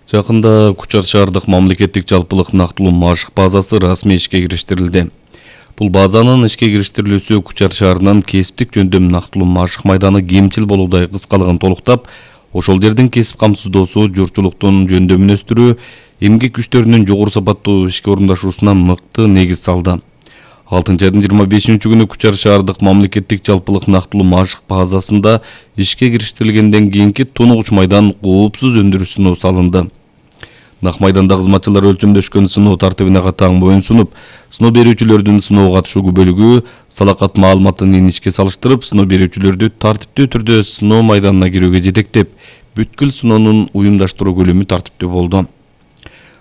Жакында Кучар шаардык мамлекеттик жалпылык нактылуу машык базасы расмий ишке кириштирилди. Бул базанын ишке кириштирилүүсү Кучар шаарынын кесиптик жөндөм нактылуу машык майданы кемчил болуудай кыскалыгын толуктап, ошол жердин кесип камсыздоосу, журтчулуктун жөндөмүн өстүрүү, эмгек күчтөрүнүн жогору сапаттуу ишке орундашуусуна мыкты негиз салды. 6 айдын 25-күнү Кучар шаардык мамлекеттик жалпылык нактылуу машык базасында ишке кириштирилгенден кийинки тунугуч майдан коопсуз өндүрүш сыноо салынды. Нак майданда кызматчылар өлчөмдөшкөн сыноо тартибине катаң моюн сунуп, сыноо берүүчүлөрдүн сыноого катышуу күбөлүгү салакат маалыматын ишке салыштырып, сыноо берүүчүлөрдү тартиптүү түрдө сыноо майданына кирүүгө жетектеп, бүткүл сыноонун уюмдаштыруу көлөмү тартиптүү болду.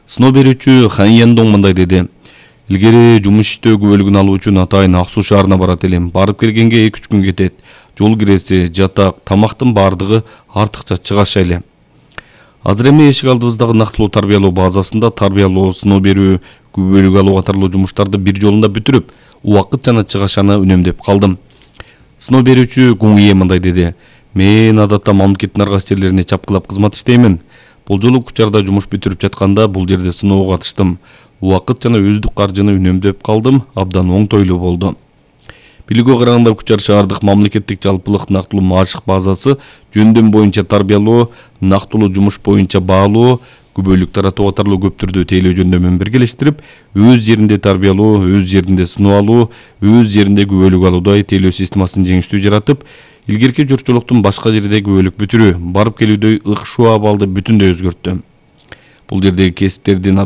Сыноо берүүчү Хан Яндон мындай деди: "Илгери жумуш иштөө күбөлүгүн алуу үчүн атайын Ак Суу шаарына барат элем. Барып келгенге 2-3 күн кетет. Жол киреси, жатак, тамактын бардыгы артыкча чыгаша эле. Азыр эми эшик алдыбыздагы нактылуу тарбиялоо базасында тарбиялоо, сыноо берүү, күбөлүк алуу катарлуу жумуштарды бир жолунда бүтүрүп, убакыт жана чыгашаны үнөмдөп калдым." Сыноо берүүчү Гуңие мындай деди: "Мен адатта мамлекеттин ар кайсы жерлерине чапкылап кызмат иштеймин. Бул жолу Кучарда жумуш бүтүрүп жатканда бул жерде сыноого катыштым. Убакыт жана өздүк каржыны үнөмдөп калдым, абдан оңтойлуу болду." Билүүгө караганда Кучар шаардык мамлекеттик жалпылык нактылуу машык базасы жөндөм боюнча тарбиялоо, нактылуу жумуш боюнча баалоо, күбөлүк таратуу катарлуу көп түрдүү тейлөө жөндөмүн биргелештирип, өз жеринде тарбиялоо, өз жеринде сыноо алуу, өз жеринде күбөлүк алуудай тейлөө системасын жеңиштүү жаратып, илгерки журтчулуктун башка жерде күбөлүк бүтүрүү, барып келүүдөй ыкшуу абалды бүтүндөй өзгөрттү. Бул жердеги кесиптердин